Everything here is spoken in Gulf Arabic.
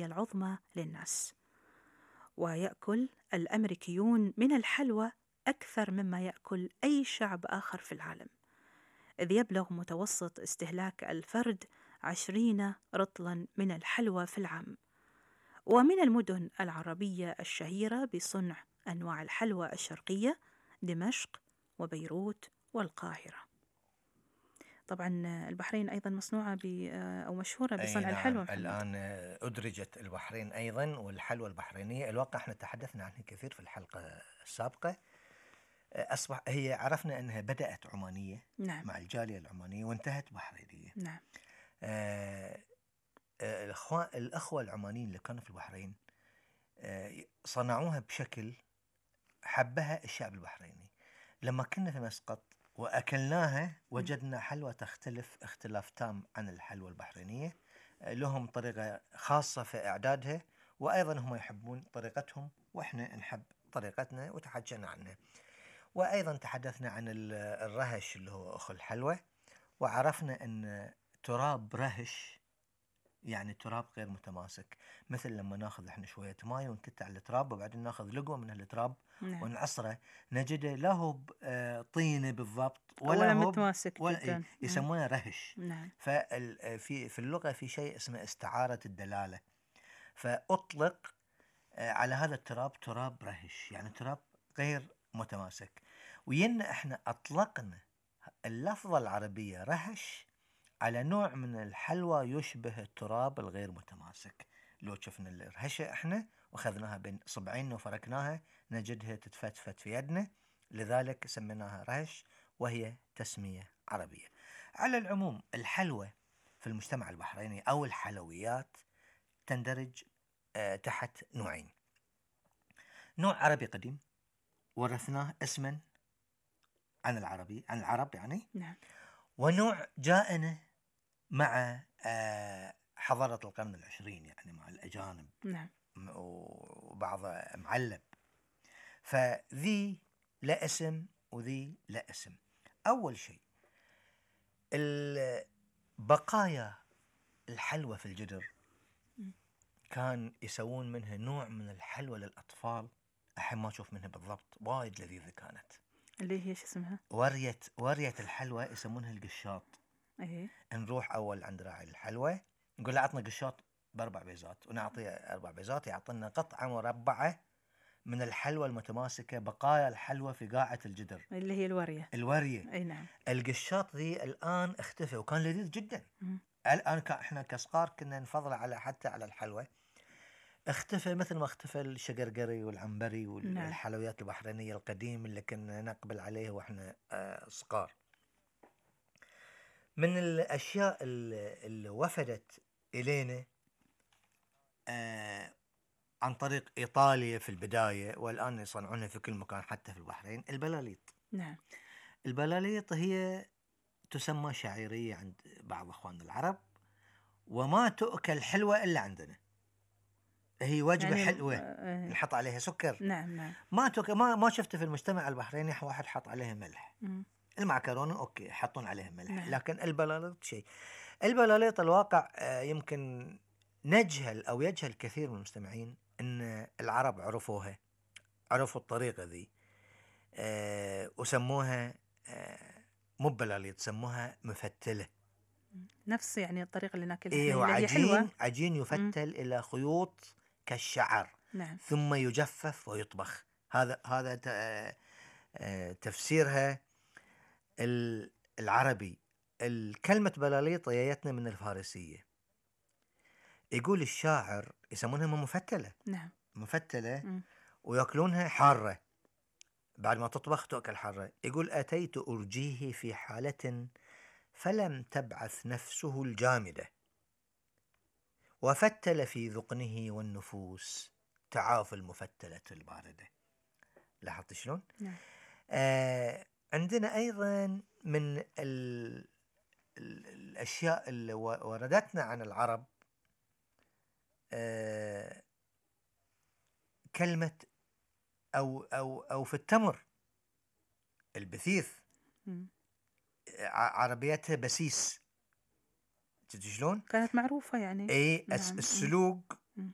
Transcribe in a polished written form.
العظمى للناس. ويأكل الأمريكيون من الحلوى أكثر مما يأكل أي شعب آخر في العالم، إذ يبلغ متوسط استهلاك الفرد 20 رطلا من الحلوى في العام. ومن المدن العربية الشهيرة بصنع أنواع الحلوى الشرقية دمشق وبيروت والقاهرة. طبعا البحرين أيضا مصنوعة أو مشهورة بصنع نعم. الحلوى محمد. الآن أدرجت البحرين أيضا، والحلوى البحرينية الواقع احنا تحدثنا عنها كثير في الحلقة السابقة. أصبح هي عرفنا أنها بدأت عمانية، نعم. مع الجالية العمانية وانتهت بحرينية. نعم. الأخوة العمانيين اللي كانوا في البحرين صنعوها بشكل حبها الشعب البحريني. لما كنا في مسقط وأكلناها وجدنا حلوى تختلف اختلاف تام عن الحلوى البحرينية. لهم طريقة خاصة في إعدادها، وأيضا هم يحبون طريقتهم وإحنا نحب طريقتنا وتحدثنا عنها. وأيضا تحدثنا عن الرهش اللي هو أخو الحلوى، وعرفنا أن تراب رهش يعني تراب غير متماسك، مثل لما ناخذ احنا شوية ماء ونكت على التراب وبعدين ناخذ لقوة من التراب ونعصره، نجده لا هو طينة بالضبط ولا هو متماسك جدا، يسمونه رهش. نعم. في اللغة في شيء اسمه استعارة الدلالة، فأطلق على هذا التراب تراب رهش، يعني تراب غير متماسك. وينا احنا أطلقنا اللفظة العربية رهش على نوع من الحلوى يشبه التراب الغير متماسك. لو شفنا الرهشة احنا واخذناها بين صبعين وفركناها نجدها تتفتفت في يدنا، لذلك سميناها رهش، وهي تسمية عربية. على العموم الحلوى في المجتمع البحريني أو الحلويات تندرج تحت نوعين: نوع عربي قديم ورثناه اسما عن العرب يعني، نعم. ونوع جاءنا مع حضارة القرن العشرين، يعني مع الأجانب. نعم. وبعض معلب، فذي لا اسم وذي لا اسم. أول شيء بقايا الحلوى في الجدر كان يسوون منها نوع من الحلوى للأطفال، الحين ما أشوف منها بالضبط، وايد لذيذة كانت، اللي هي شو اسمها؟ ورية الحلوى يسمونها القشاط. ايه. نروح أول عند راعي الحلوى نقول له عطنا قشاط ب4 بيزات، ونعطيه 4 بيزات، يعطينا قطعة مربعة من الحلوى المتماسكة، بقايا الحلوى في قاعة الجدر اللي هي الورية. أي نعم. القشاط ذي الآن اختفى وكان لذيذ جدا. الآن احنا كصغار كنا نفضل حتى على الحلوى، اختفى مثل ما اختفى الشقرقري والعنبري والحلويات البحرينية القديم اللي كنا نقبل عليه واحنا صغار. من الأشياء اللي وفدت إلينا عن طريق إيطاليا في البداية، والآن يصنعونها في كل مكان حتى في البحرين، البلاليط. نعم. البلاليط هي تسمى شعيرية عند بعض أخواننا العرب، وما تؤكل حلوة إلا عندنا، هي وجبة يعني حلوة نحط عليها سكر. نعم. ما تؤكل، ما شفت في المجتمع البحريني واحد حط عليها ملح. المعكرونة أوكي يحطون عليها ملح. نعم. لكن البلاليط شيء. البلاليط الواقع يمكن نجهل أو يجهل كثير من المستمعين أن العرب عرفوا الطريقة ذي وسموها مو بلاليط، سموها مفتلة، نفس يعني الطريقة اللي ناكلها إيه، اللي هي حلوة. عجين يفتل إلى خيوط كالشعر. نعم. ثم يجفف ويطبخ. هذا تفسيرها العربي. الكلمة بلاليط جايتنا من الفارسية. يقول الشاعر يسمونها مفتلة. نعم. مفتلة. ويأكلونها حارة، بعد ما تطبخ تأكل حارة. يقول أتيت أرجيه في حالة فلم تبعث نفسه الجامدة، وفتل في ذقنه والنفوس تعاف المفتلة الباردة. لاحظت شلون؟ نعم. عندنا أيضا من الأشياء اللي وردتنا عن العرب كلمة أو في التمر البثيث، عربيتها بسيس. شلون؟ كانت معروفة يعني. نعم. السلوق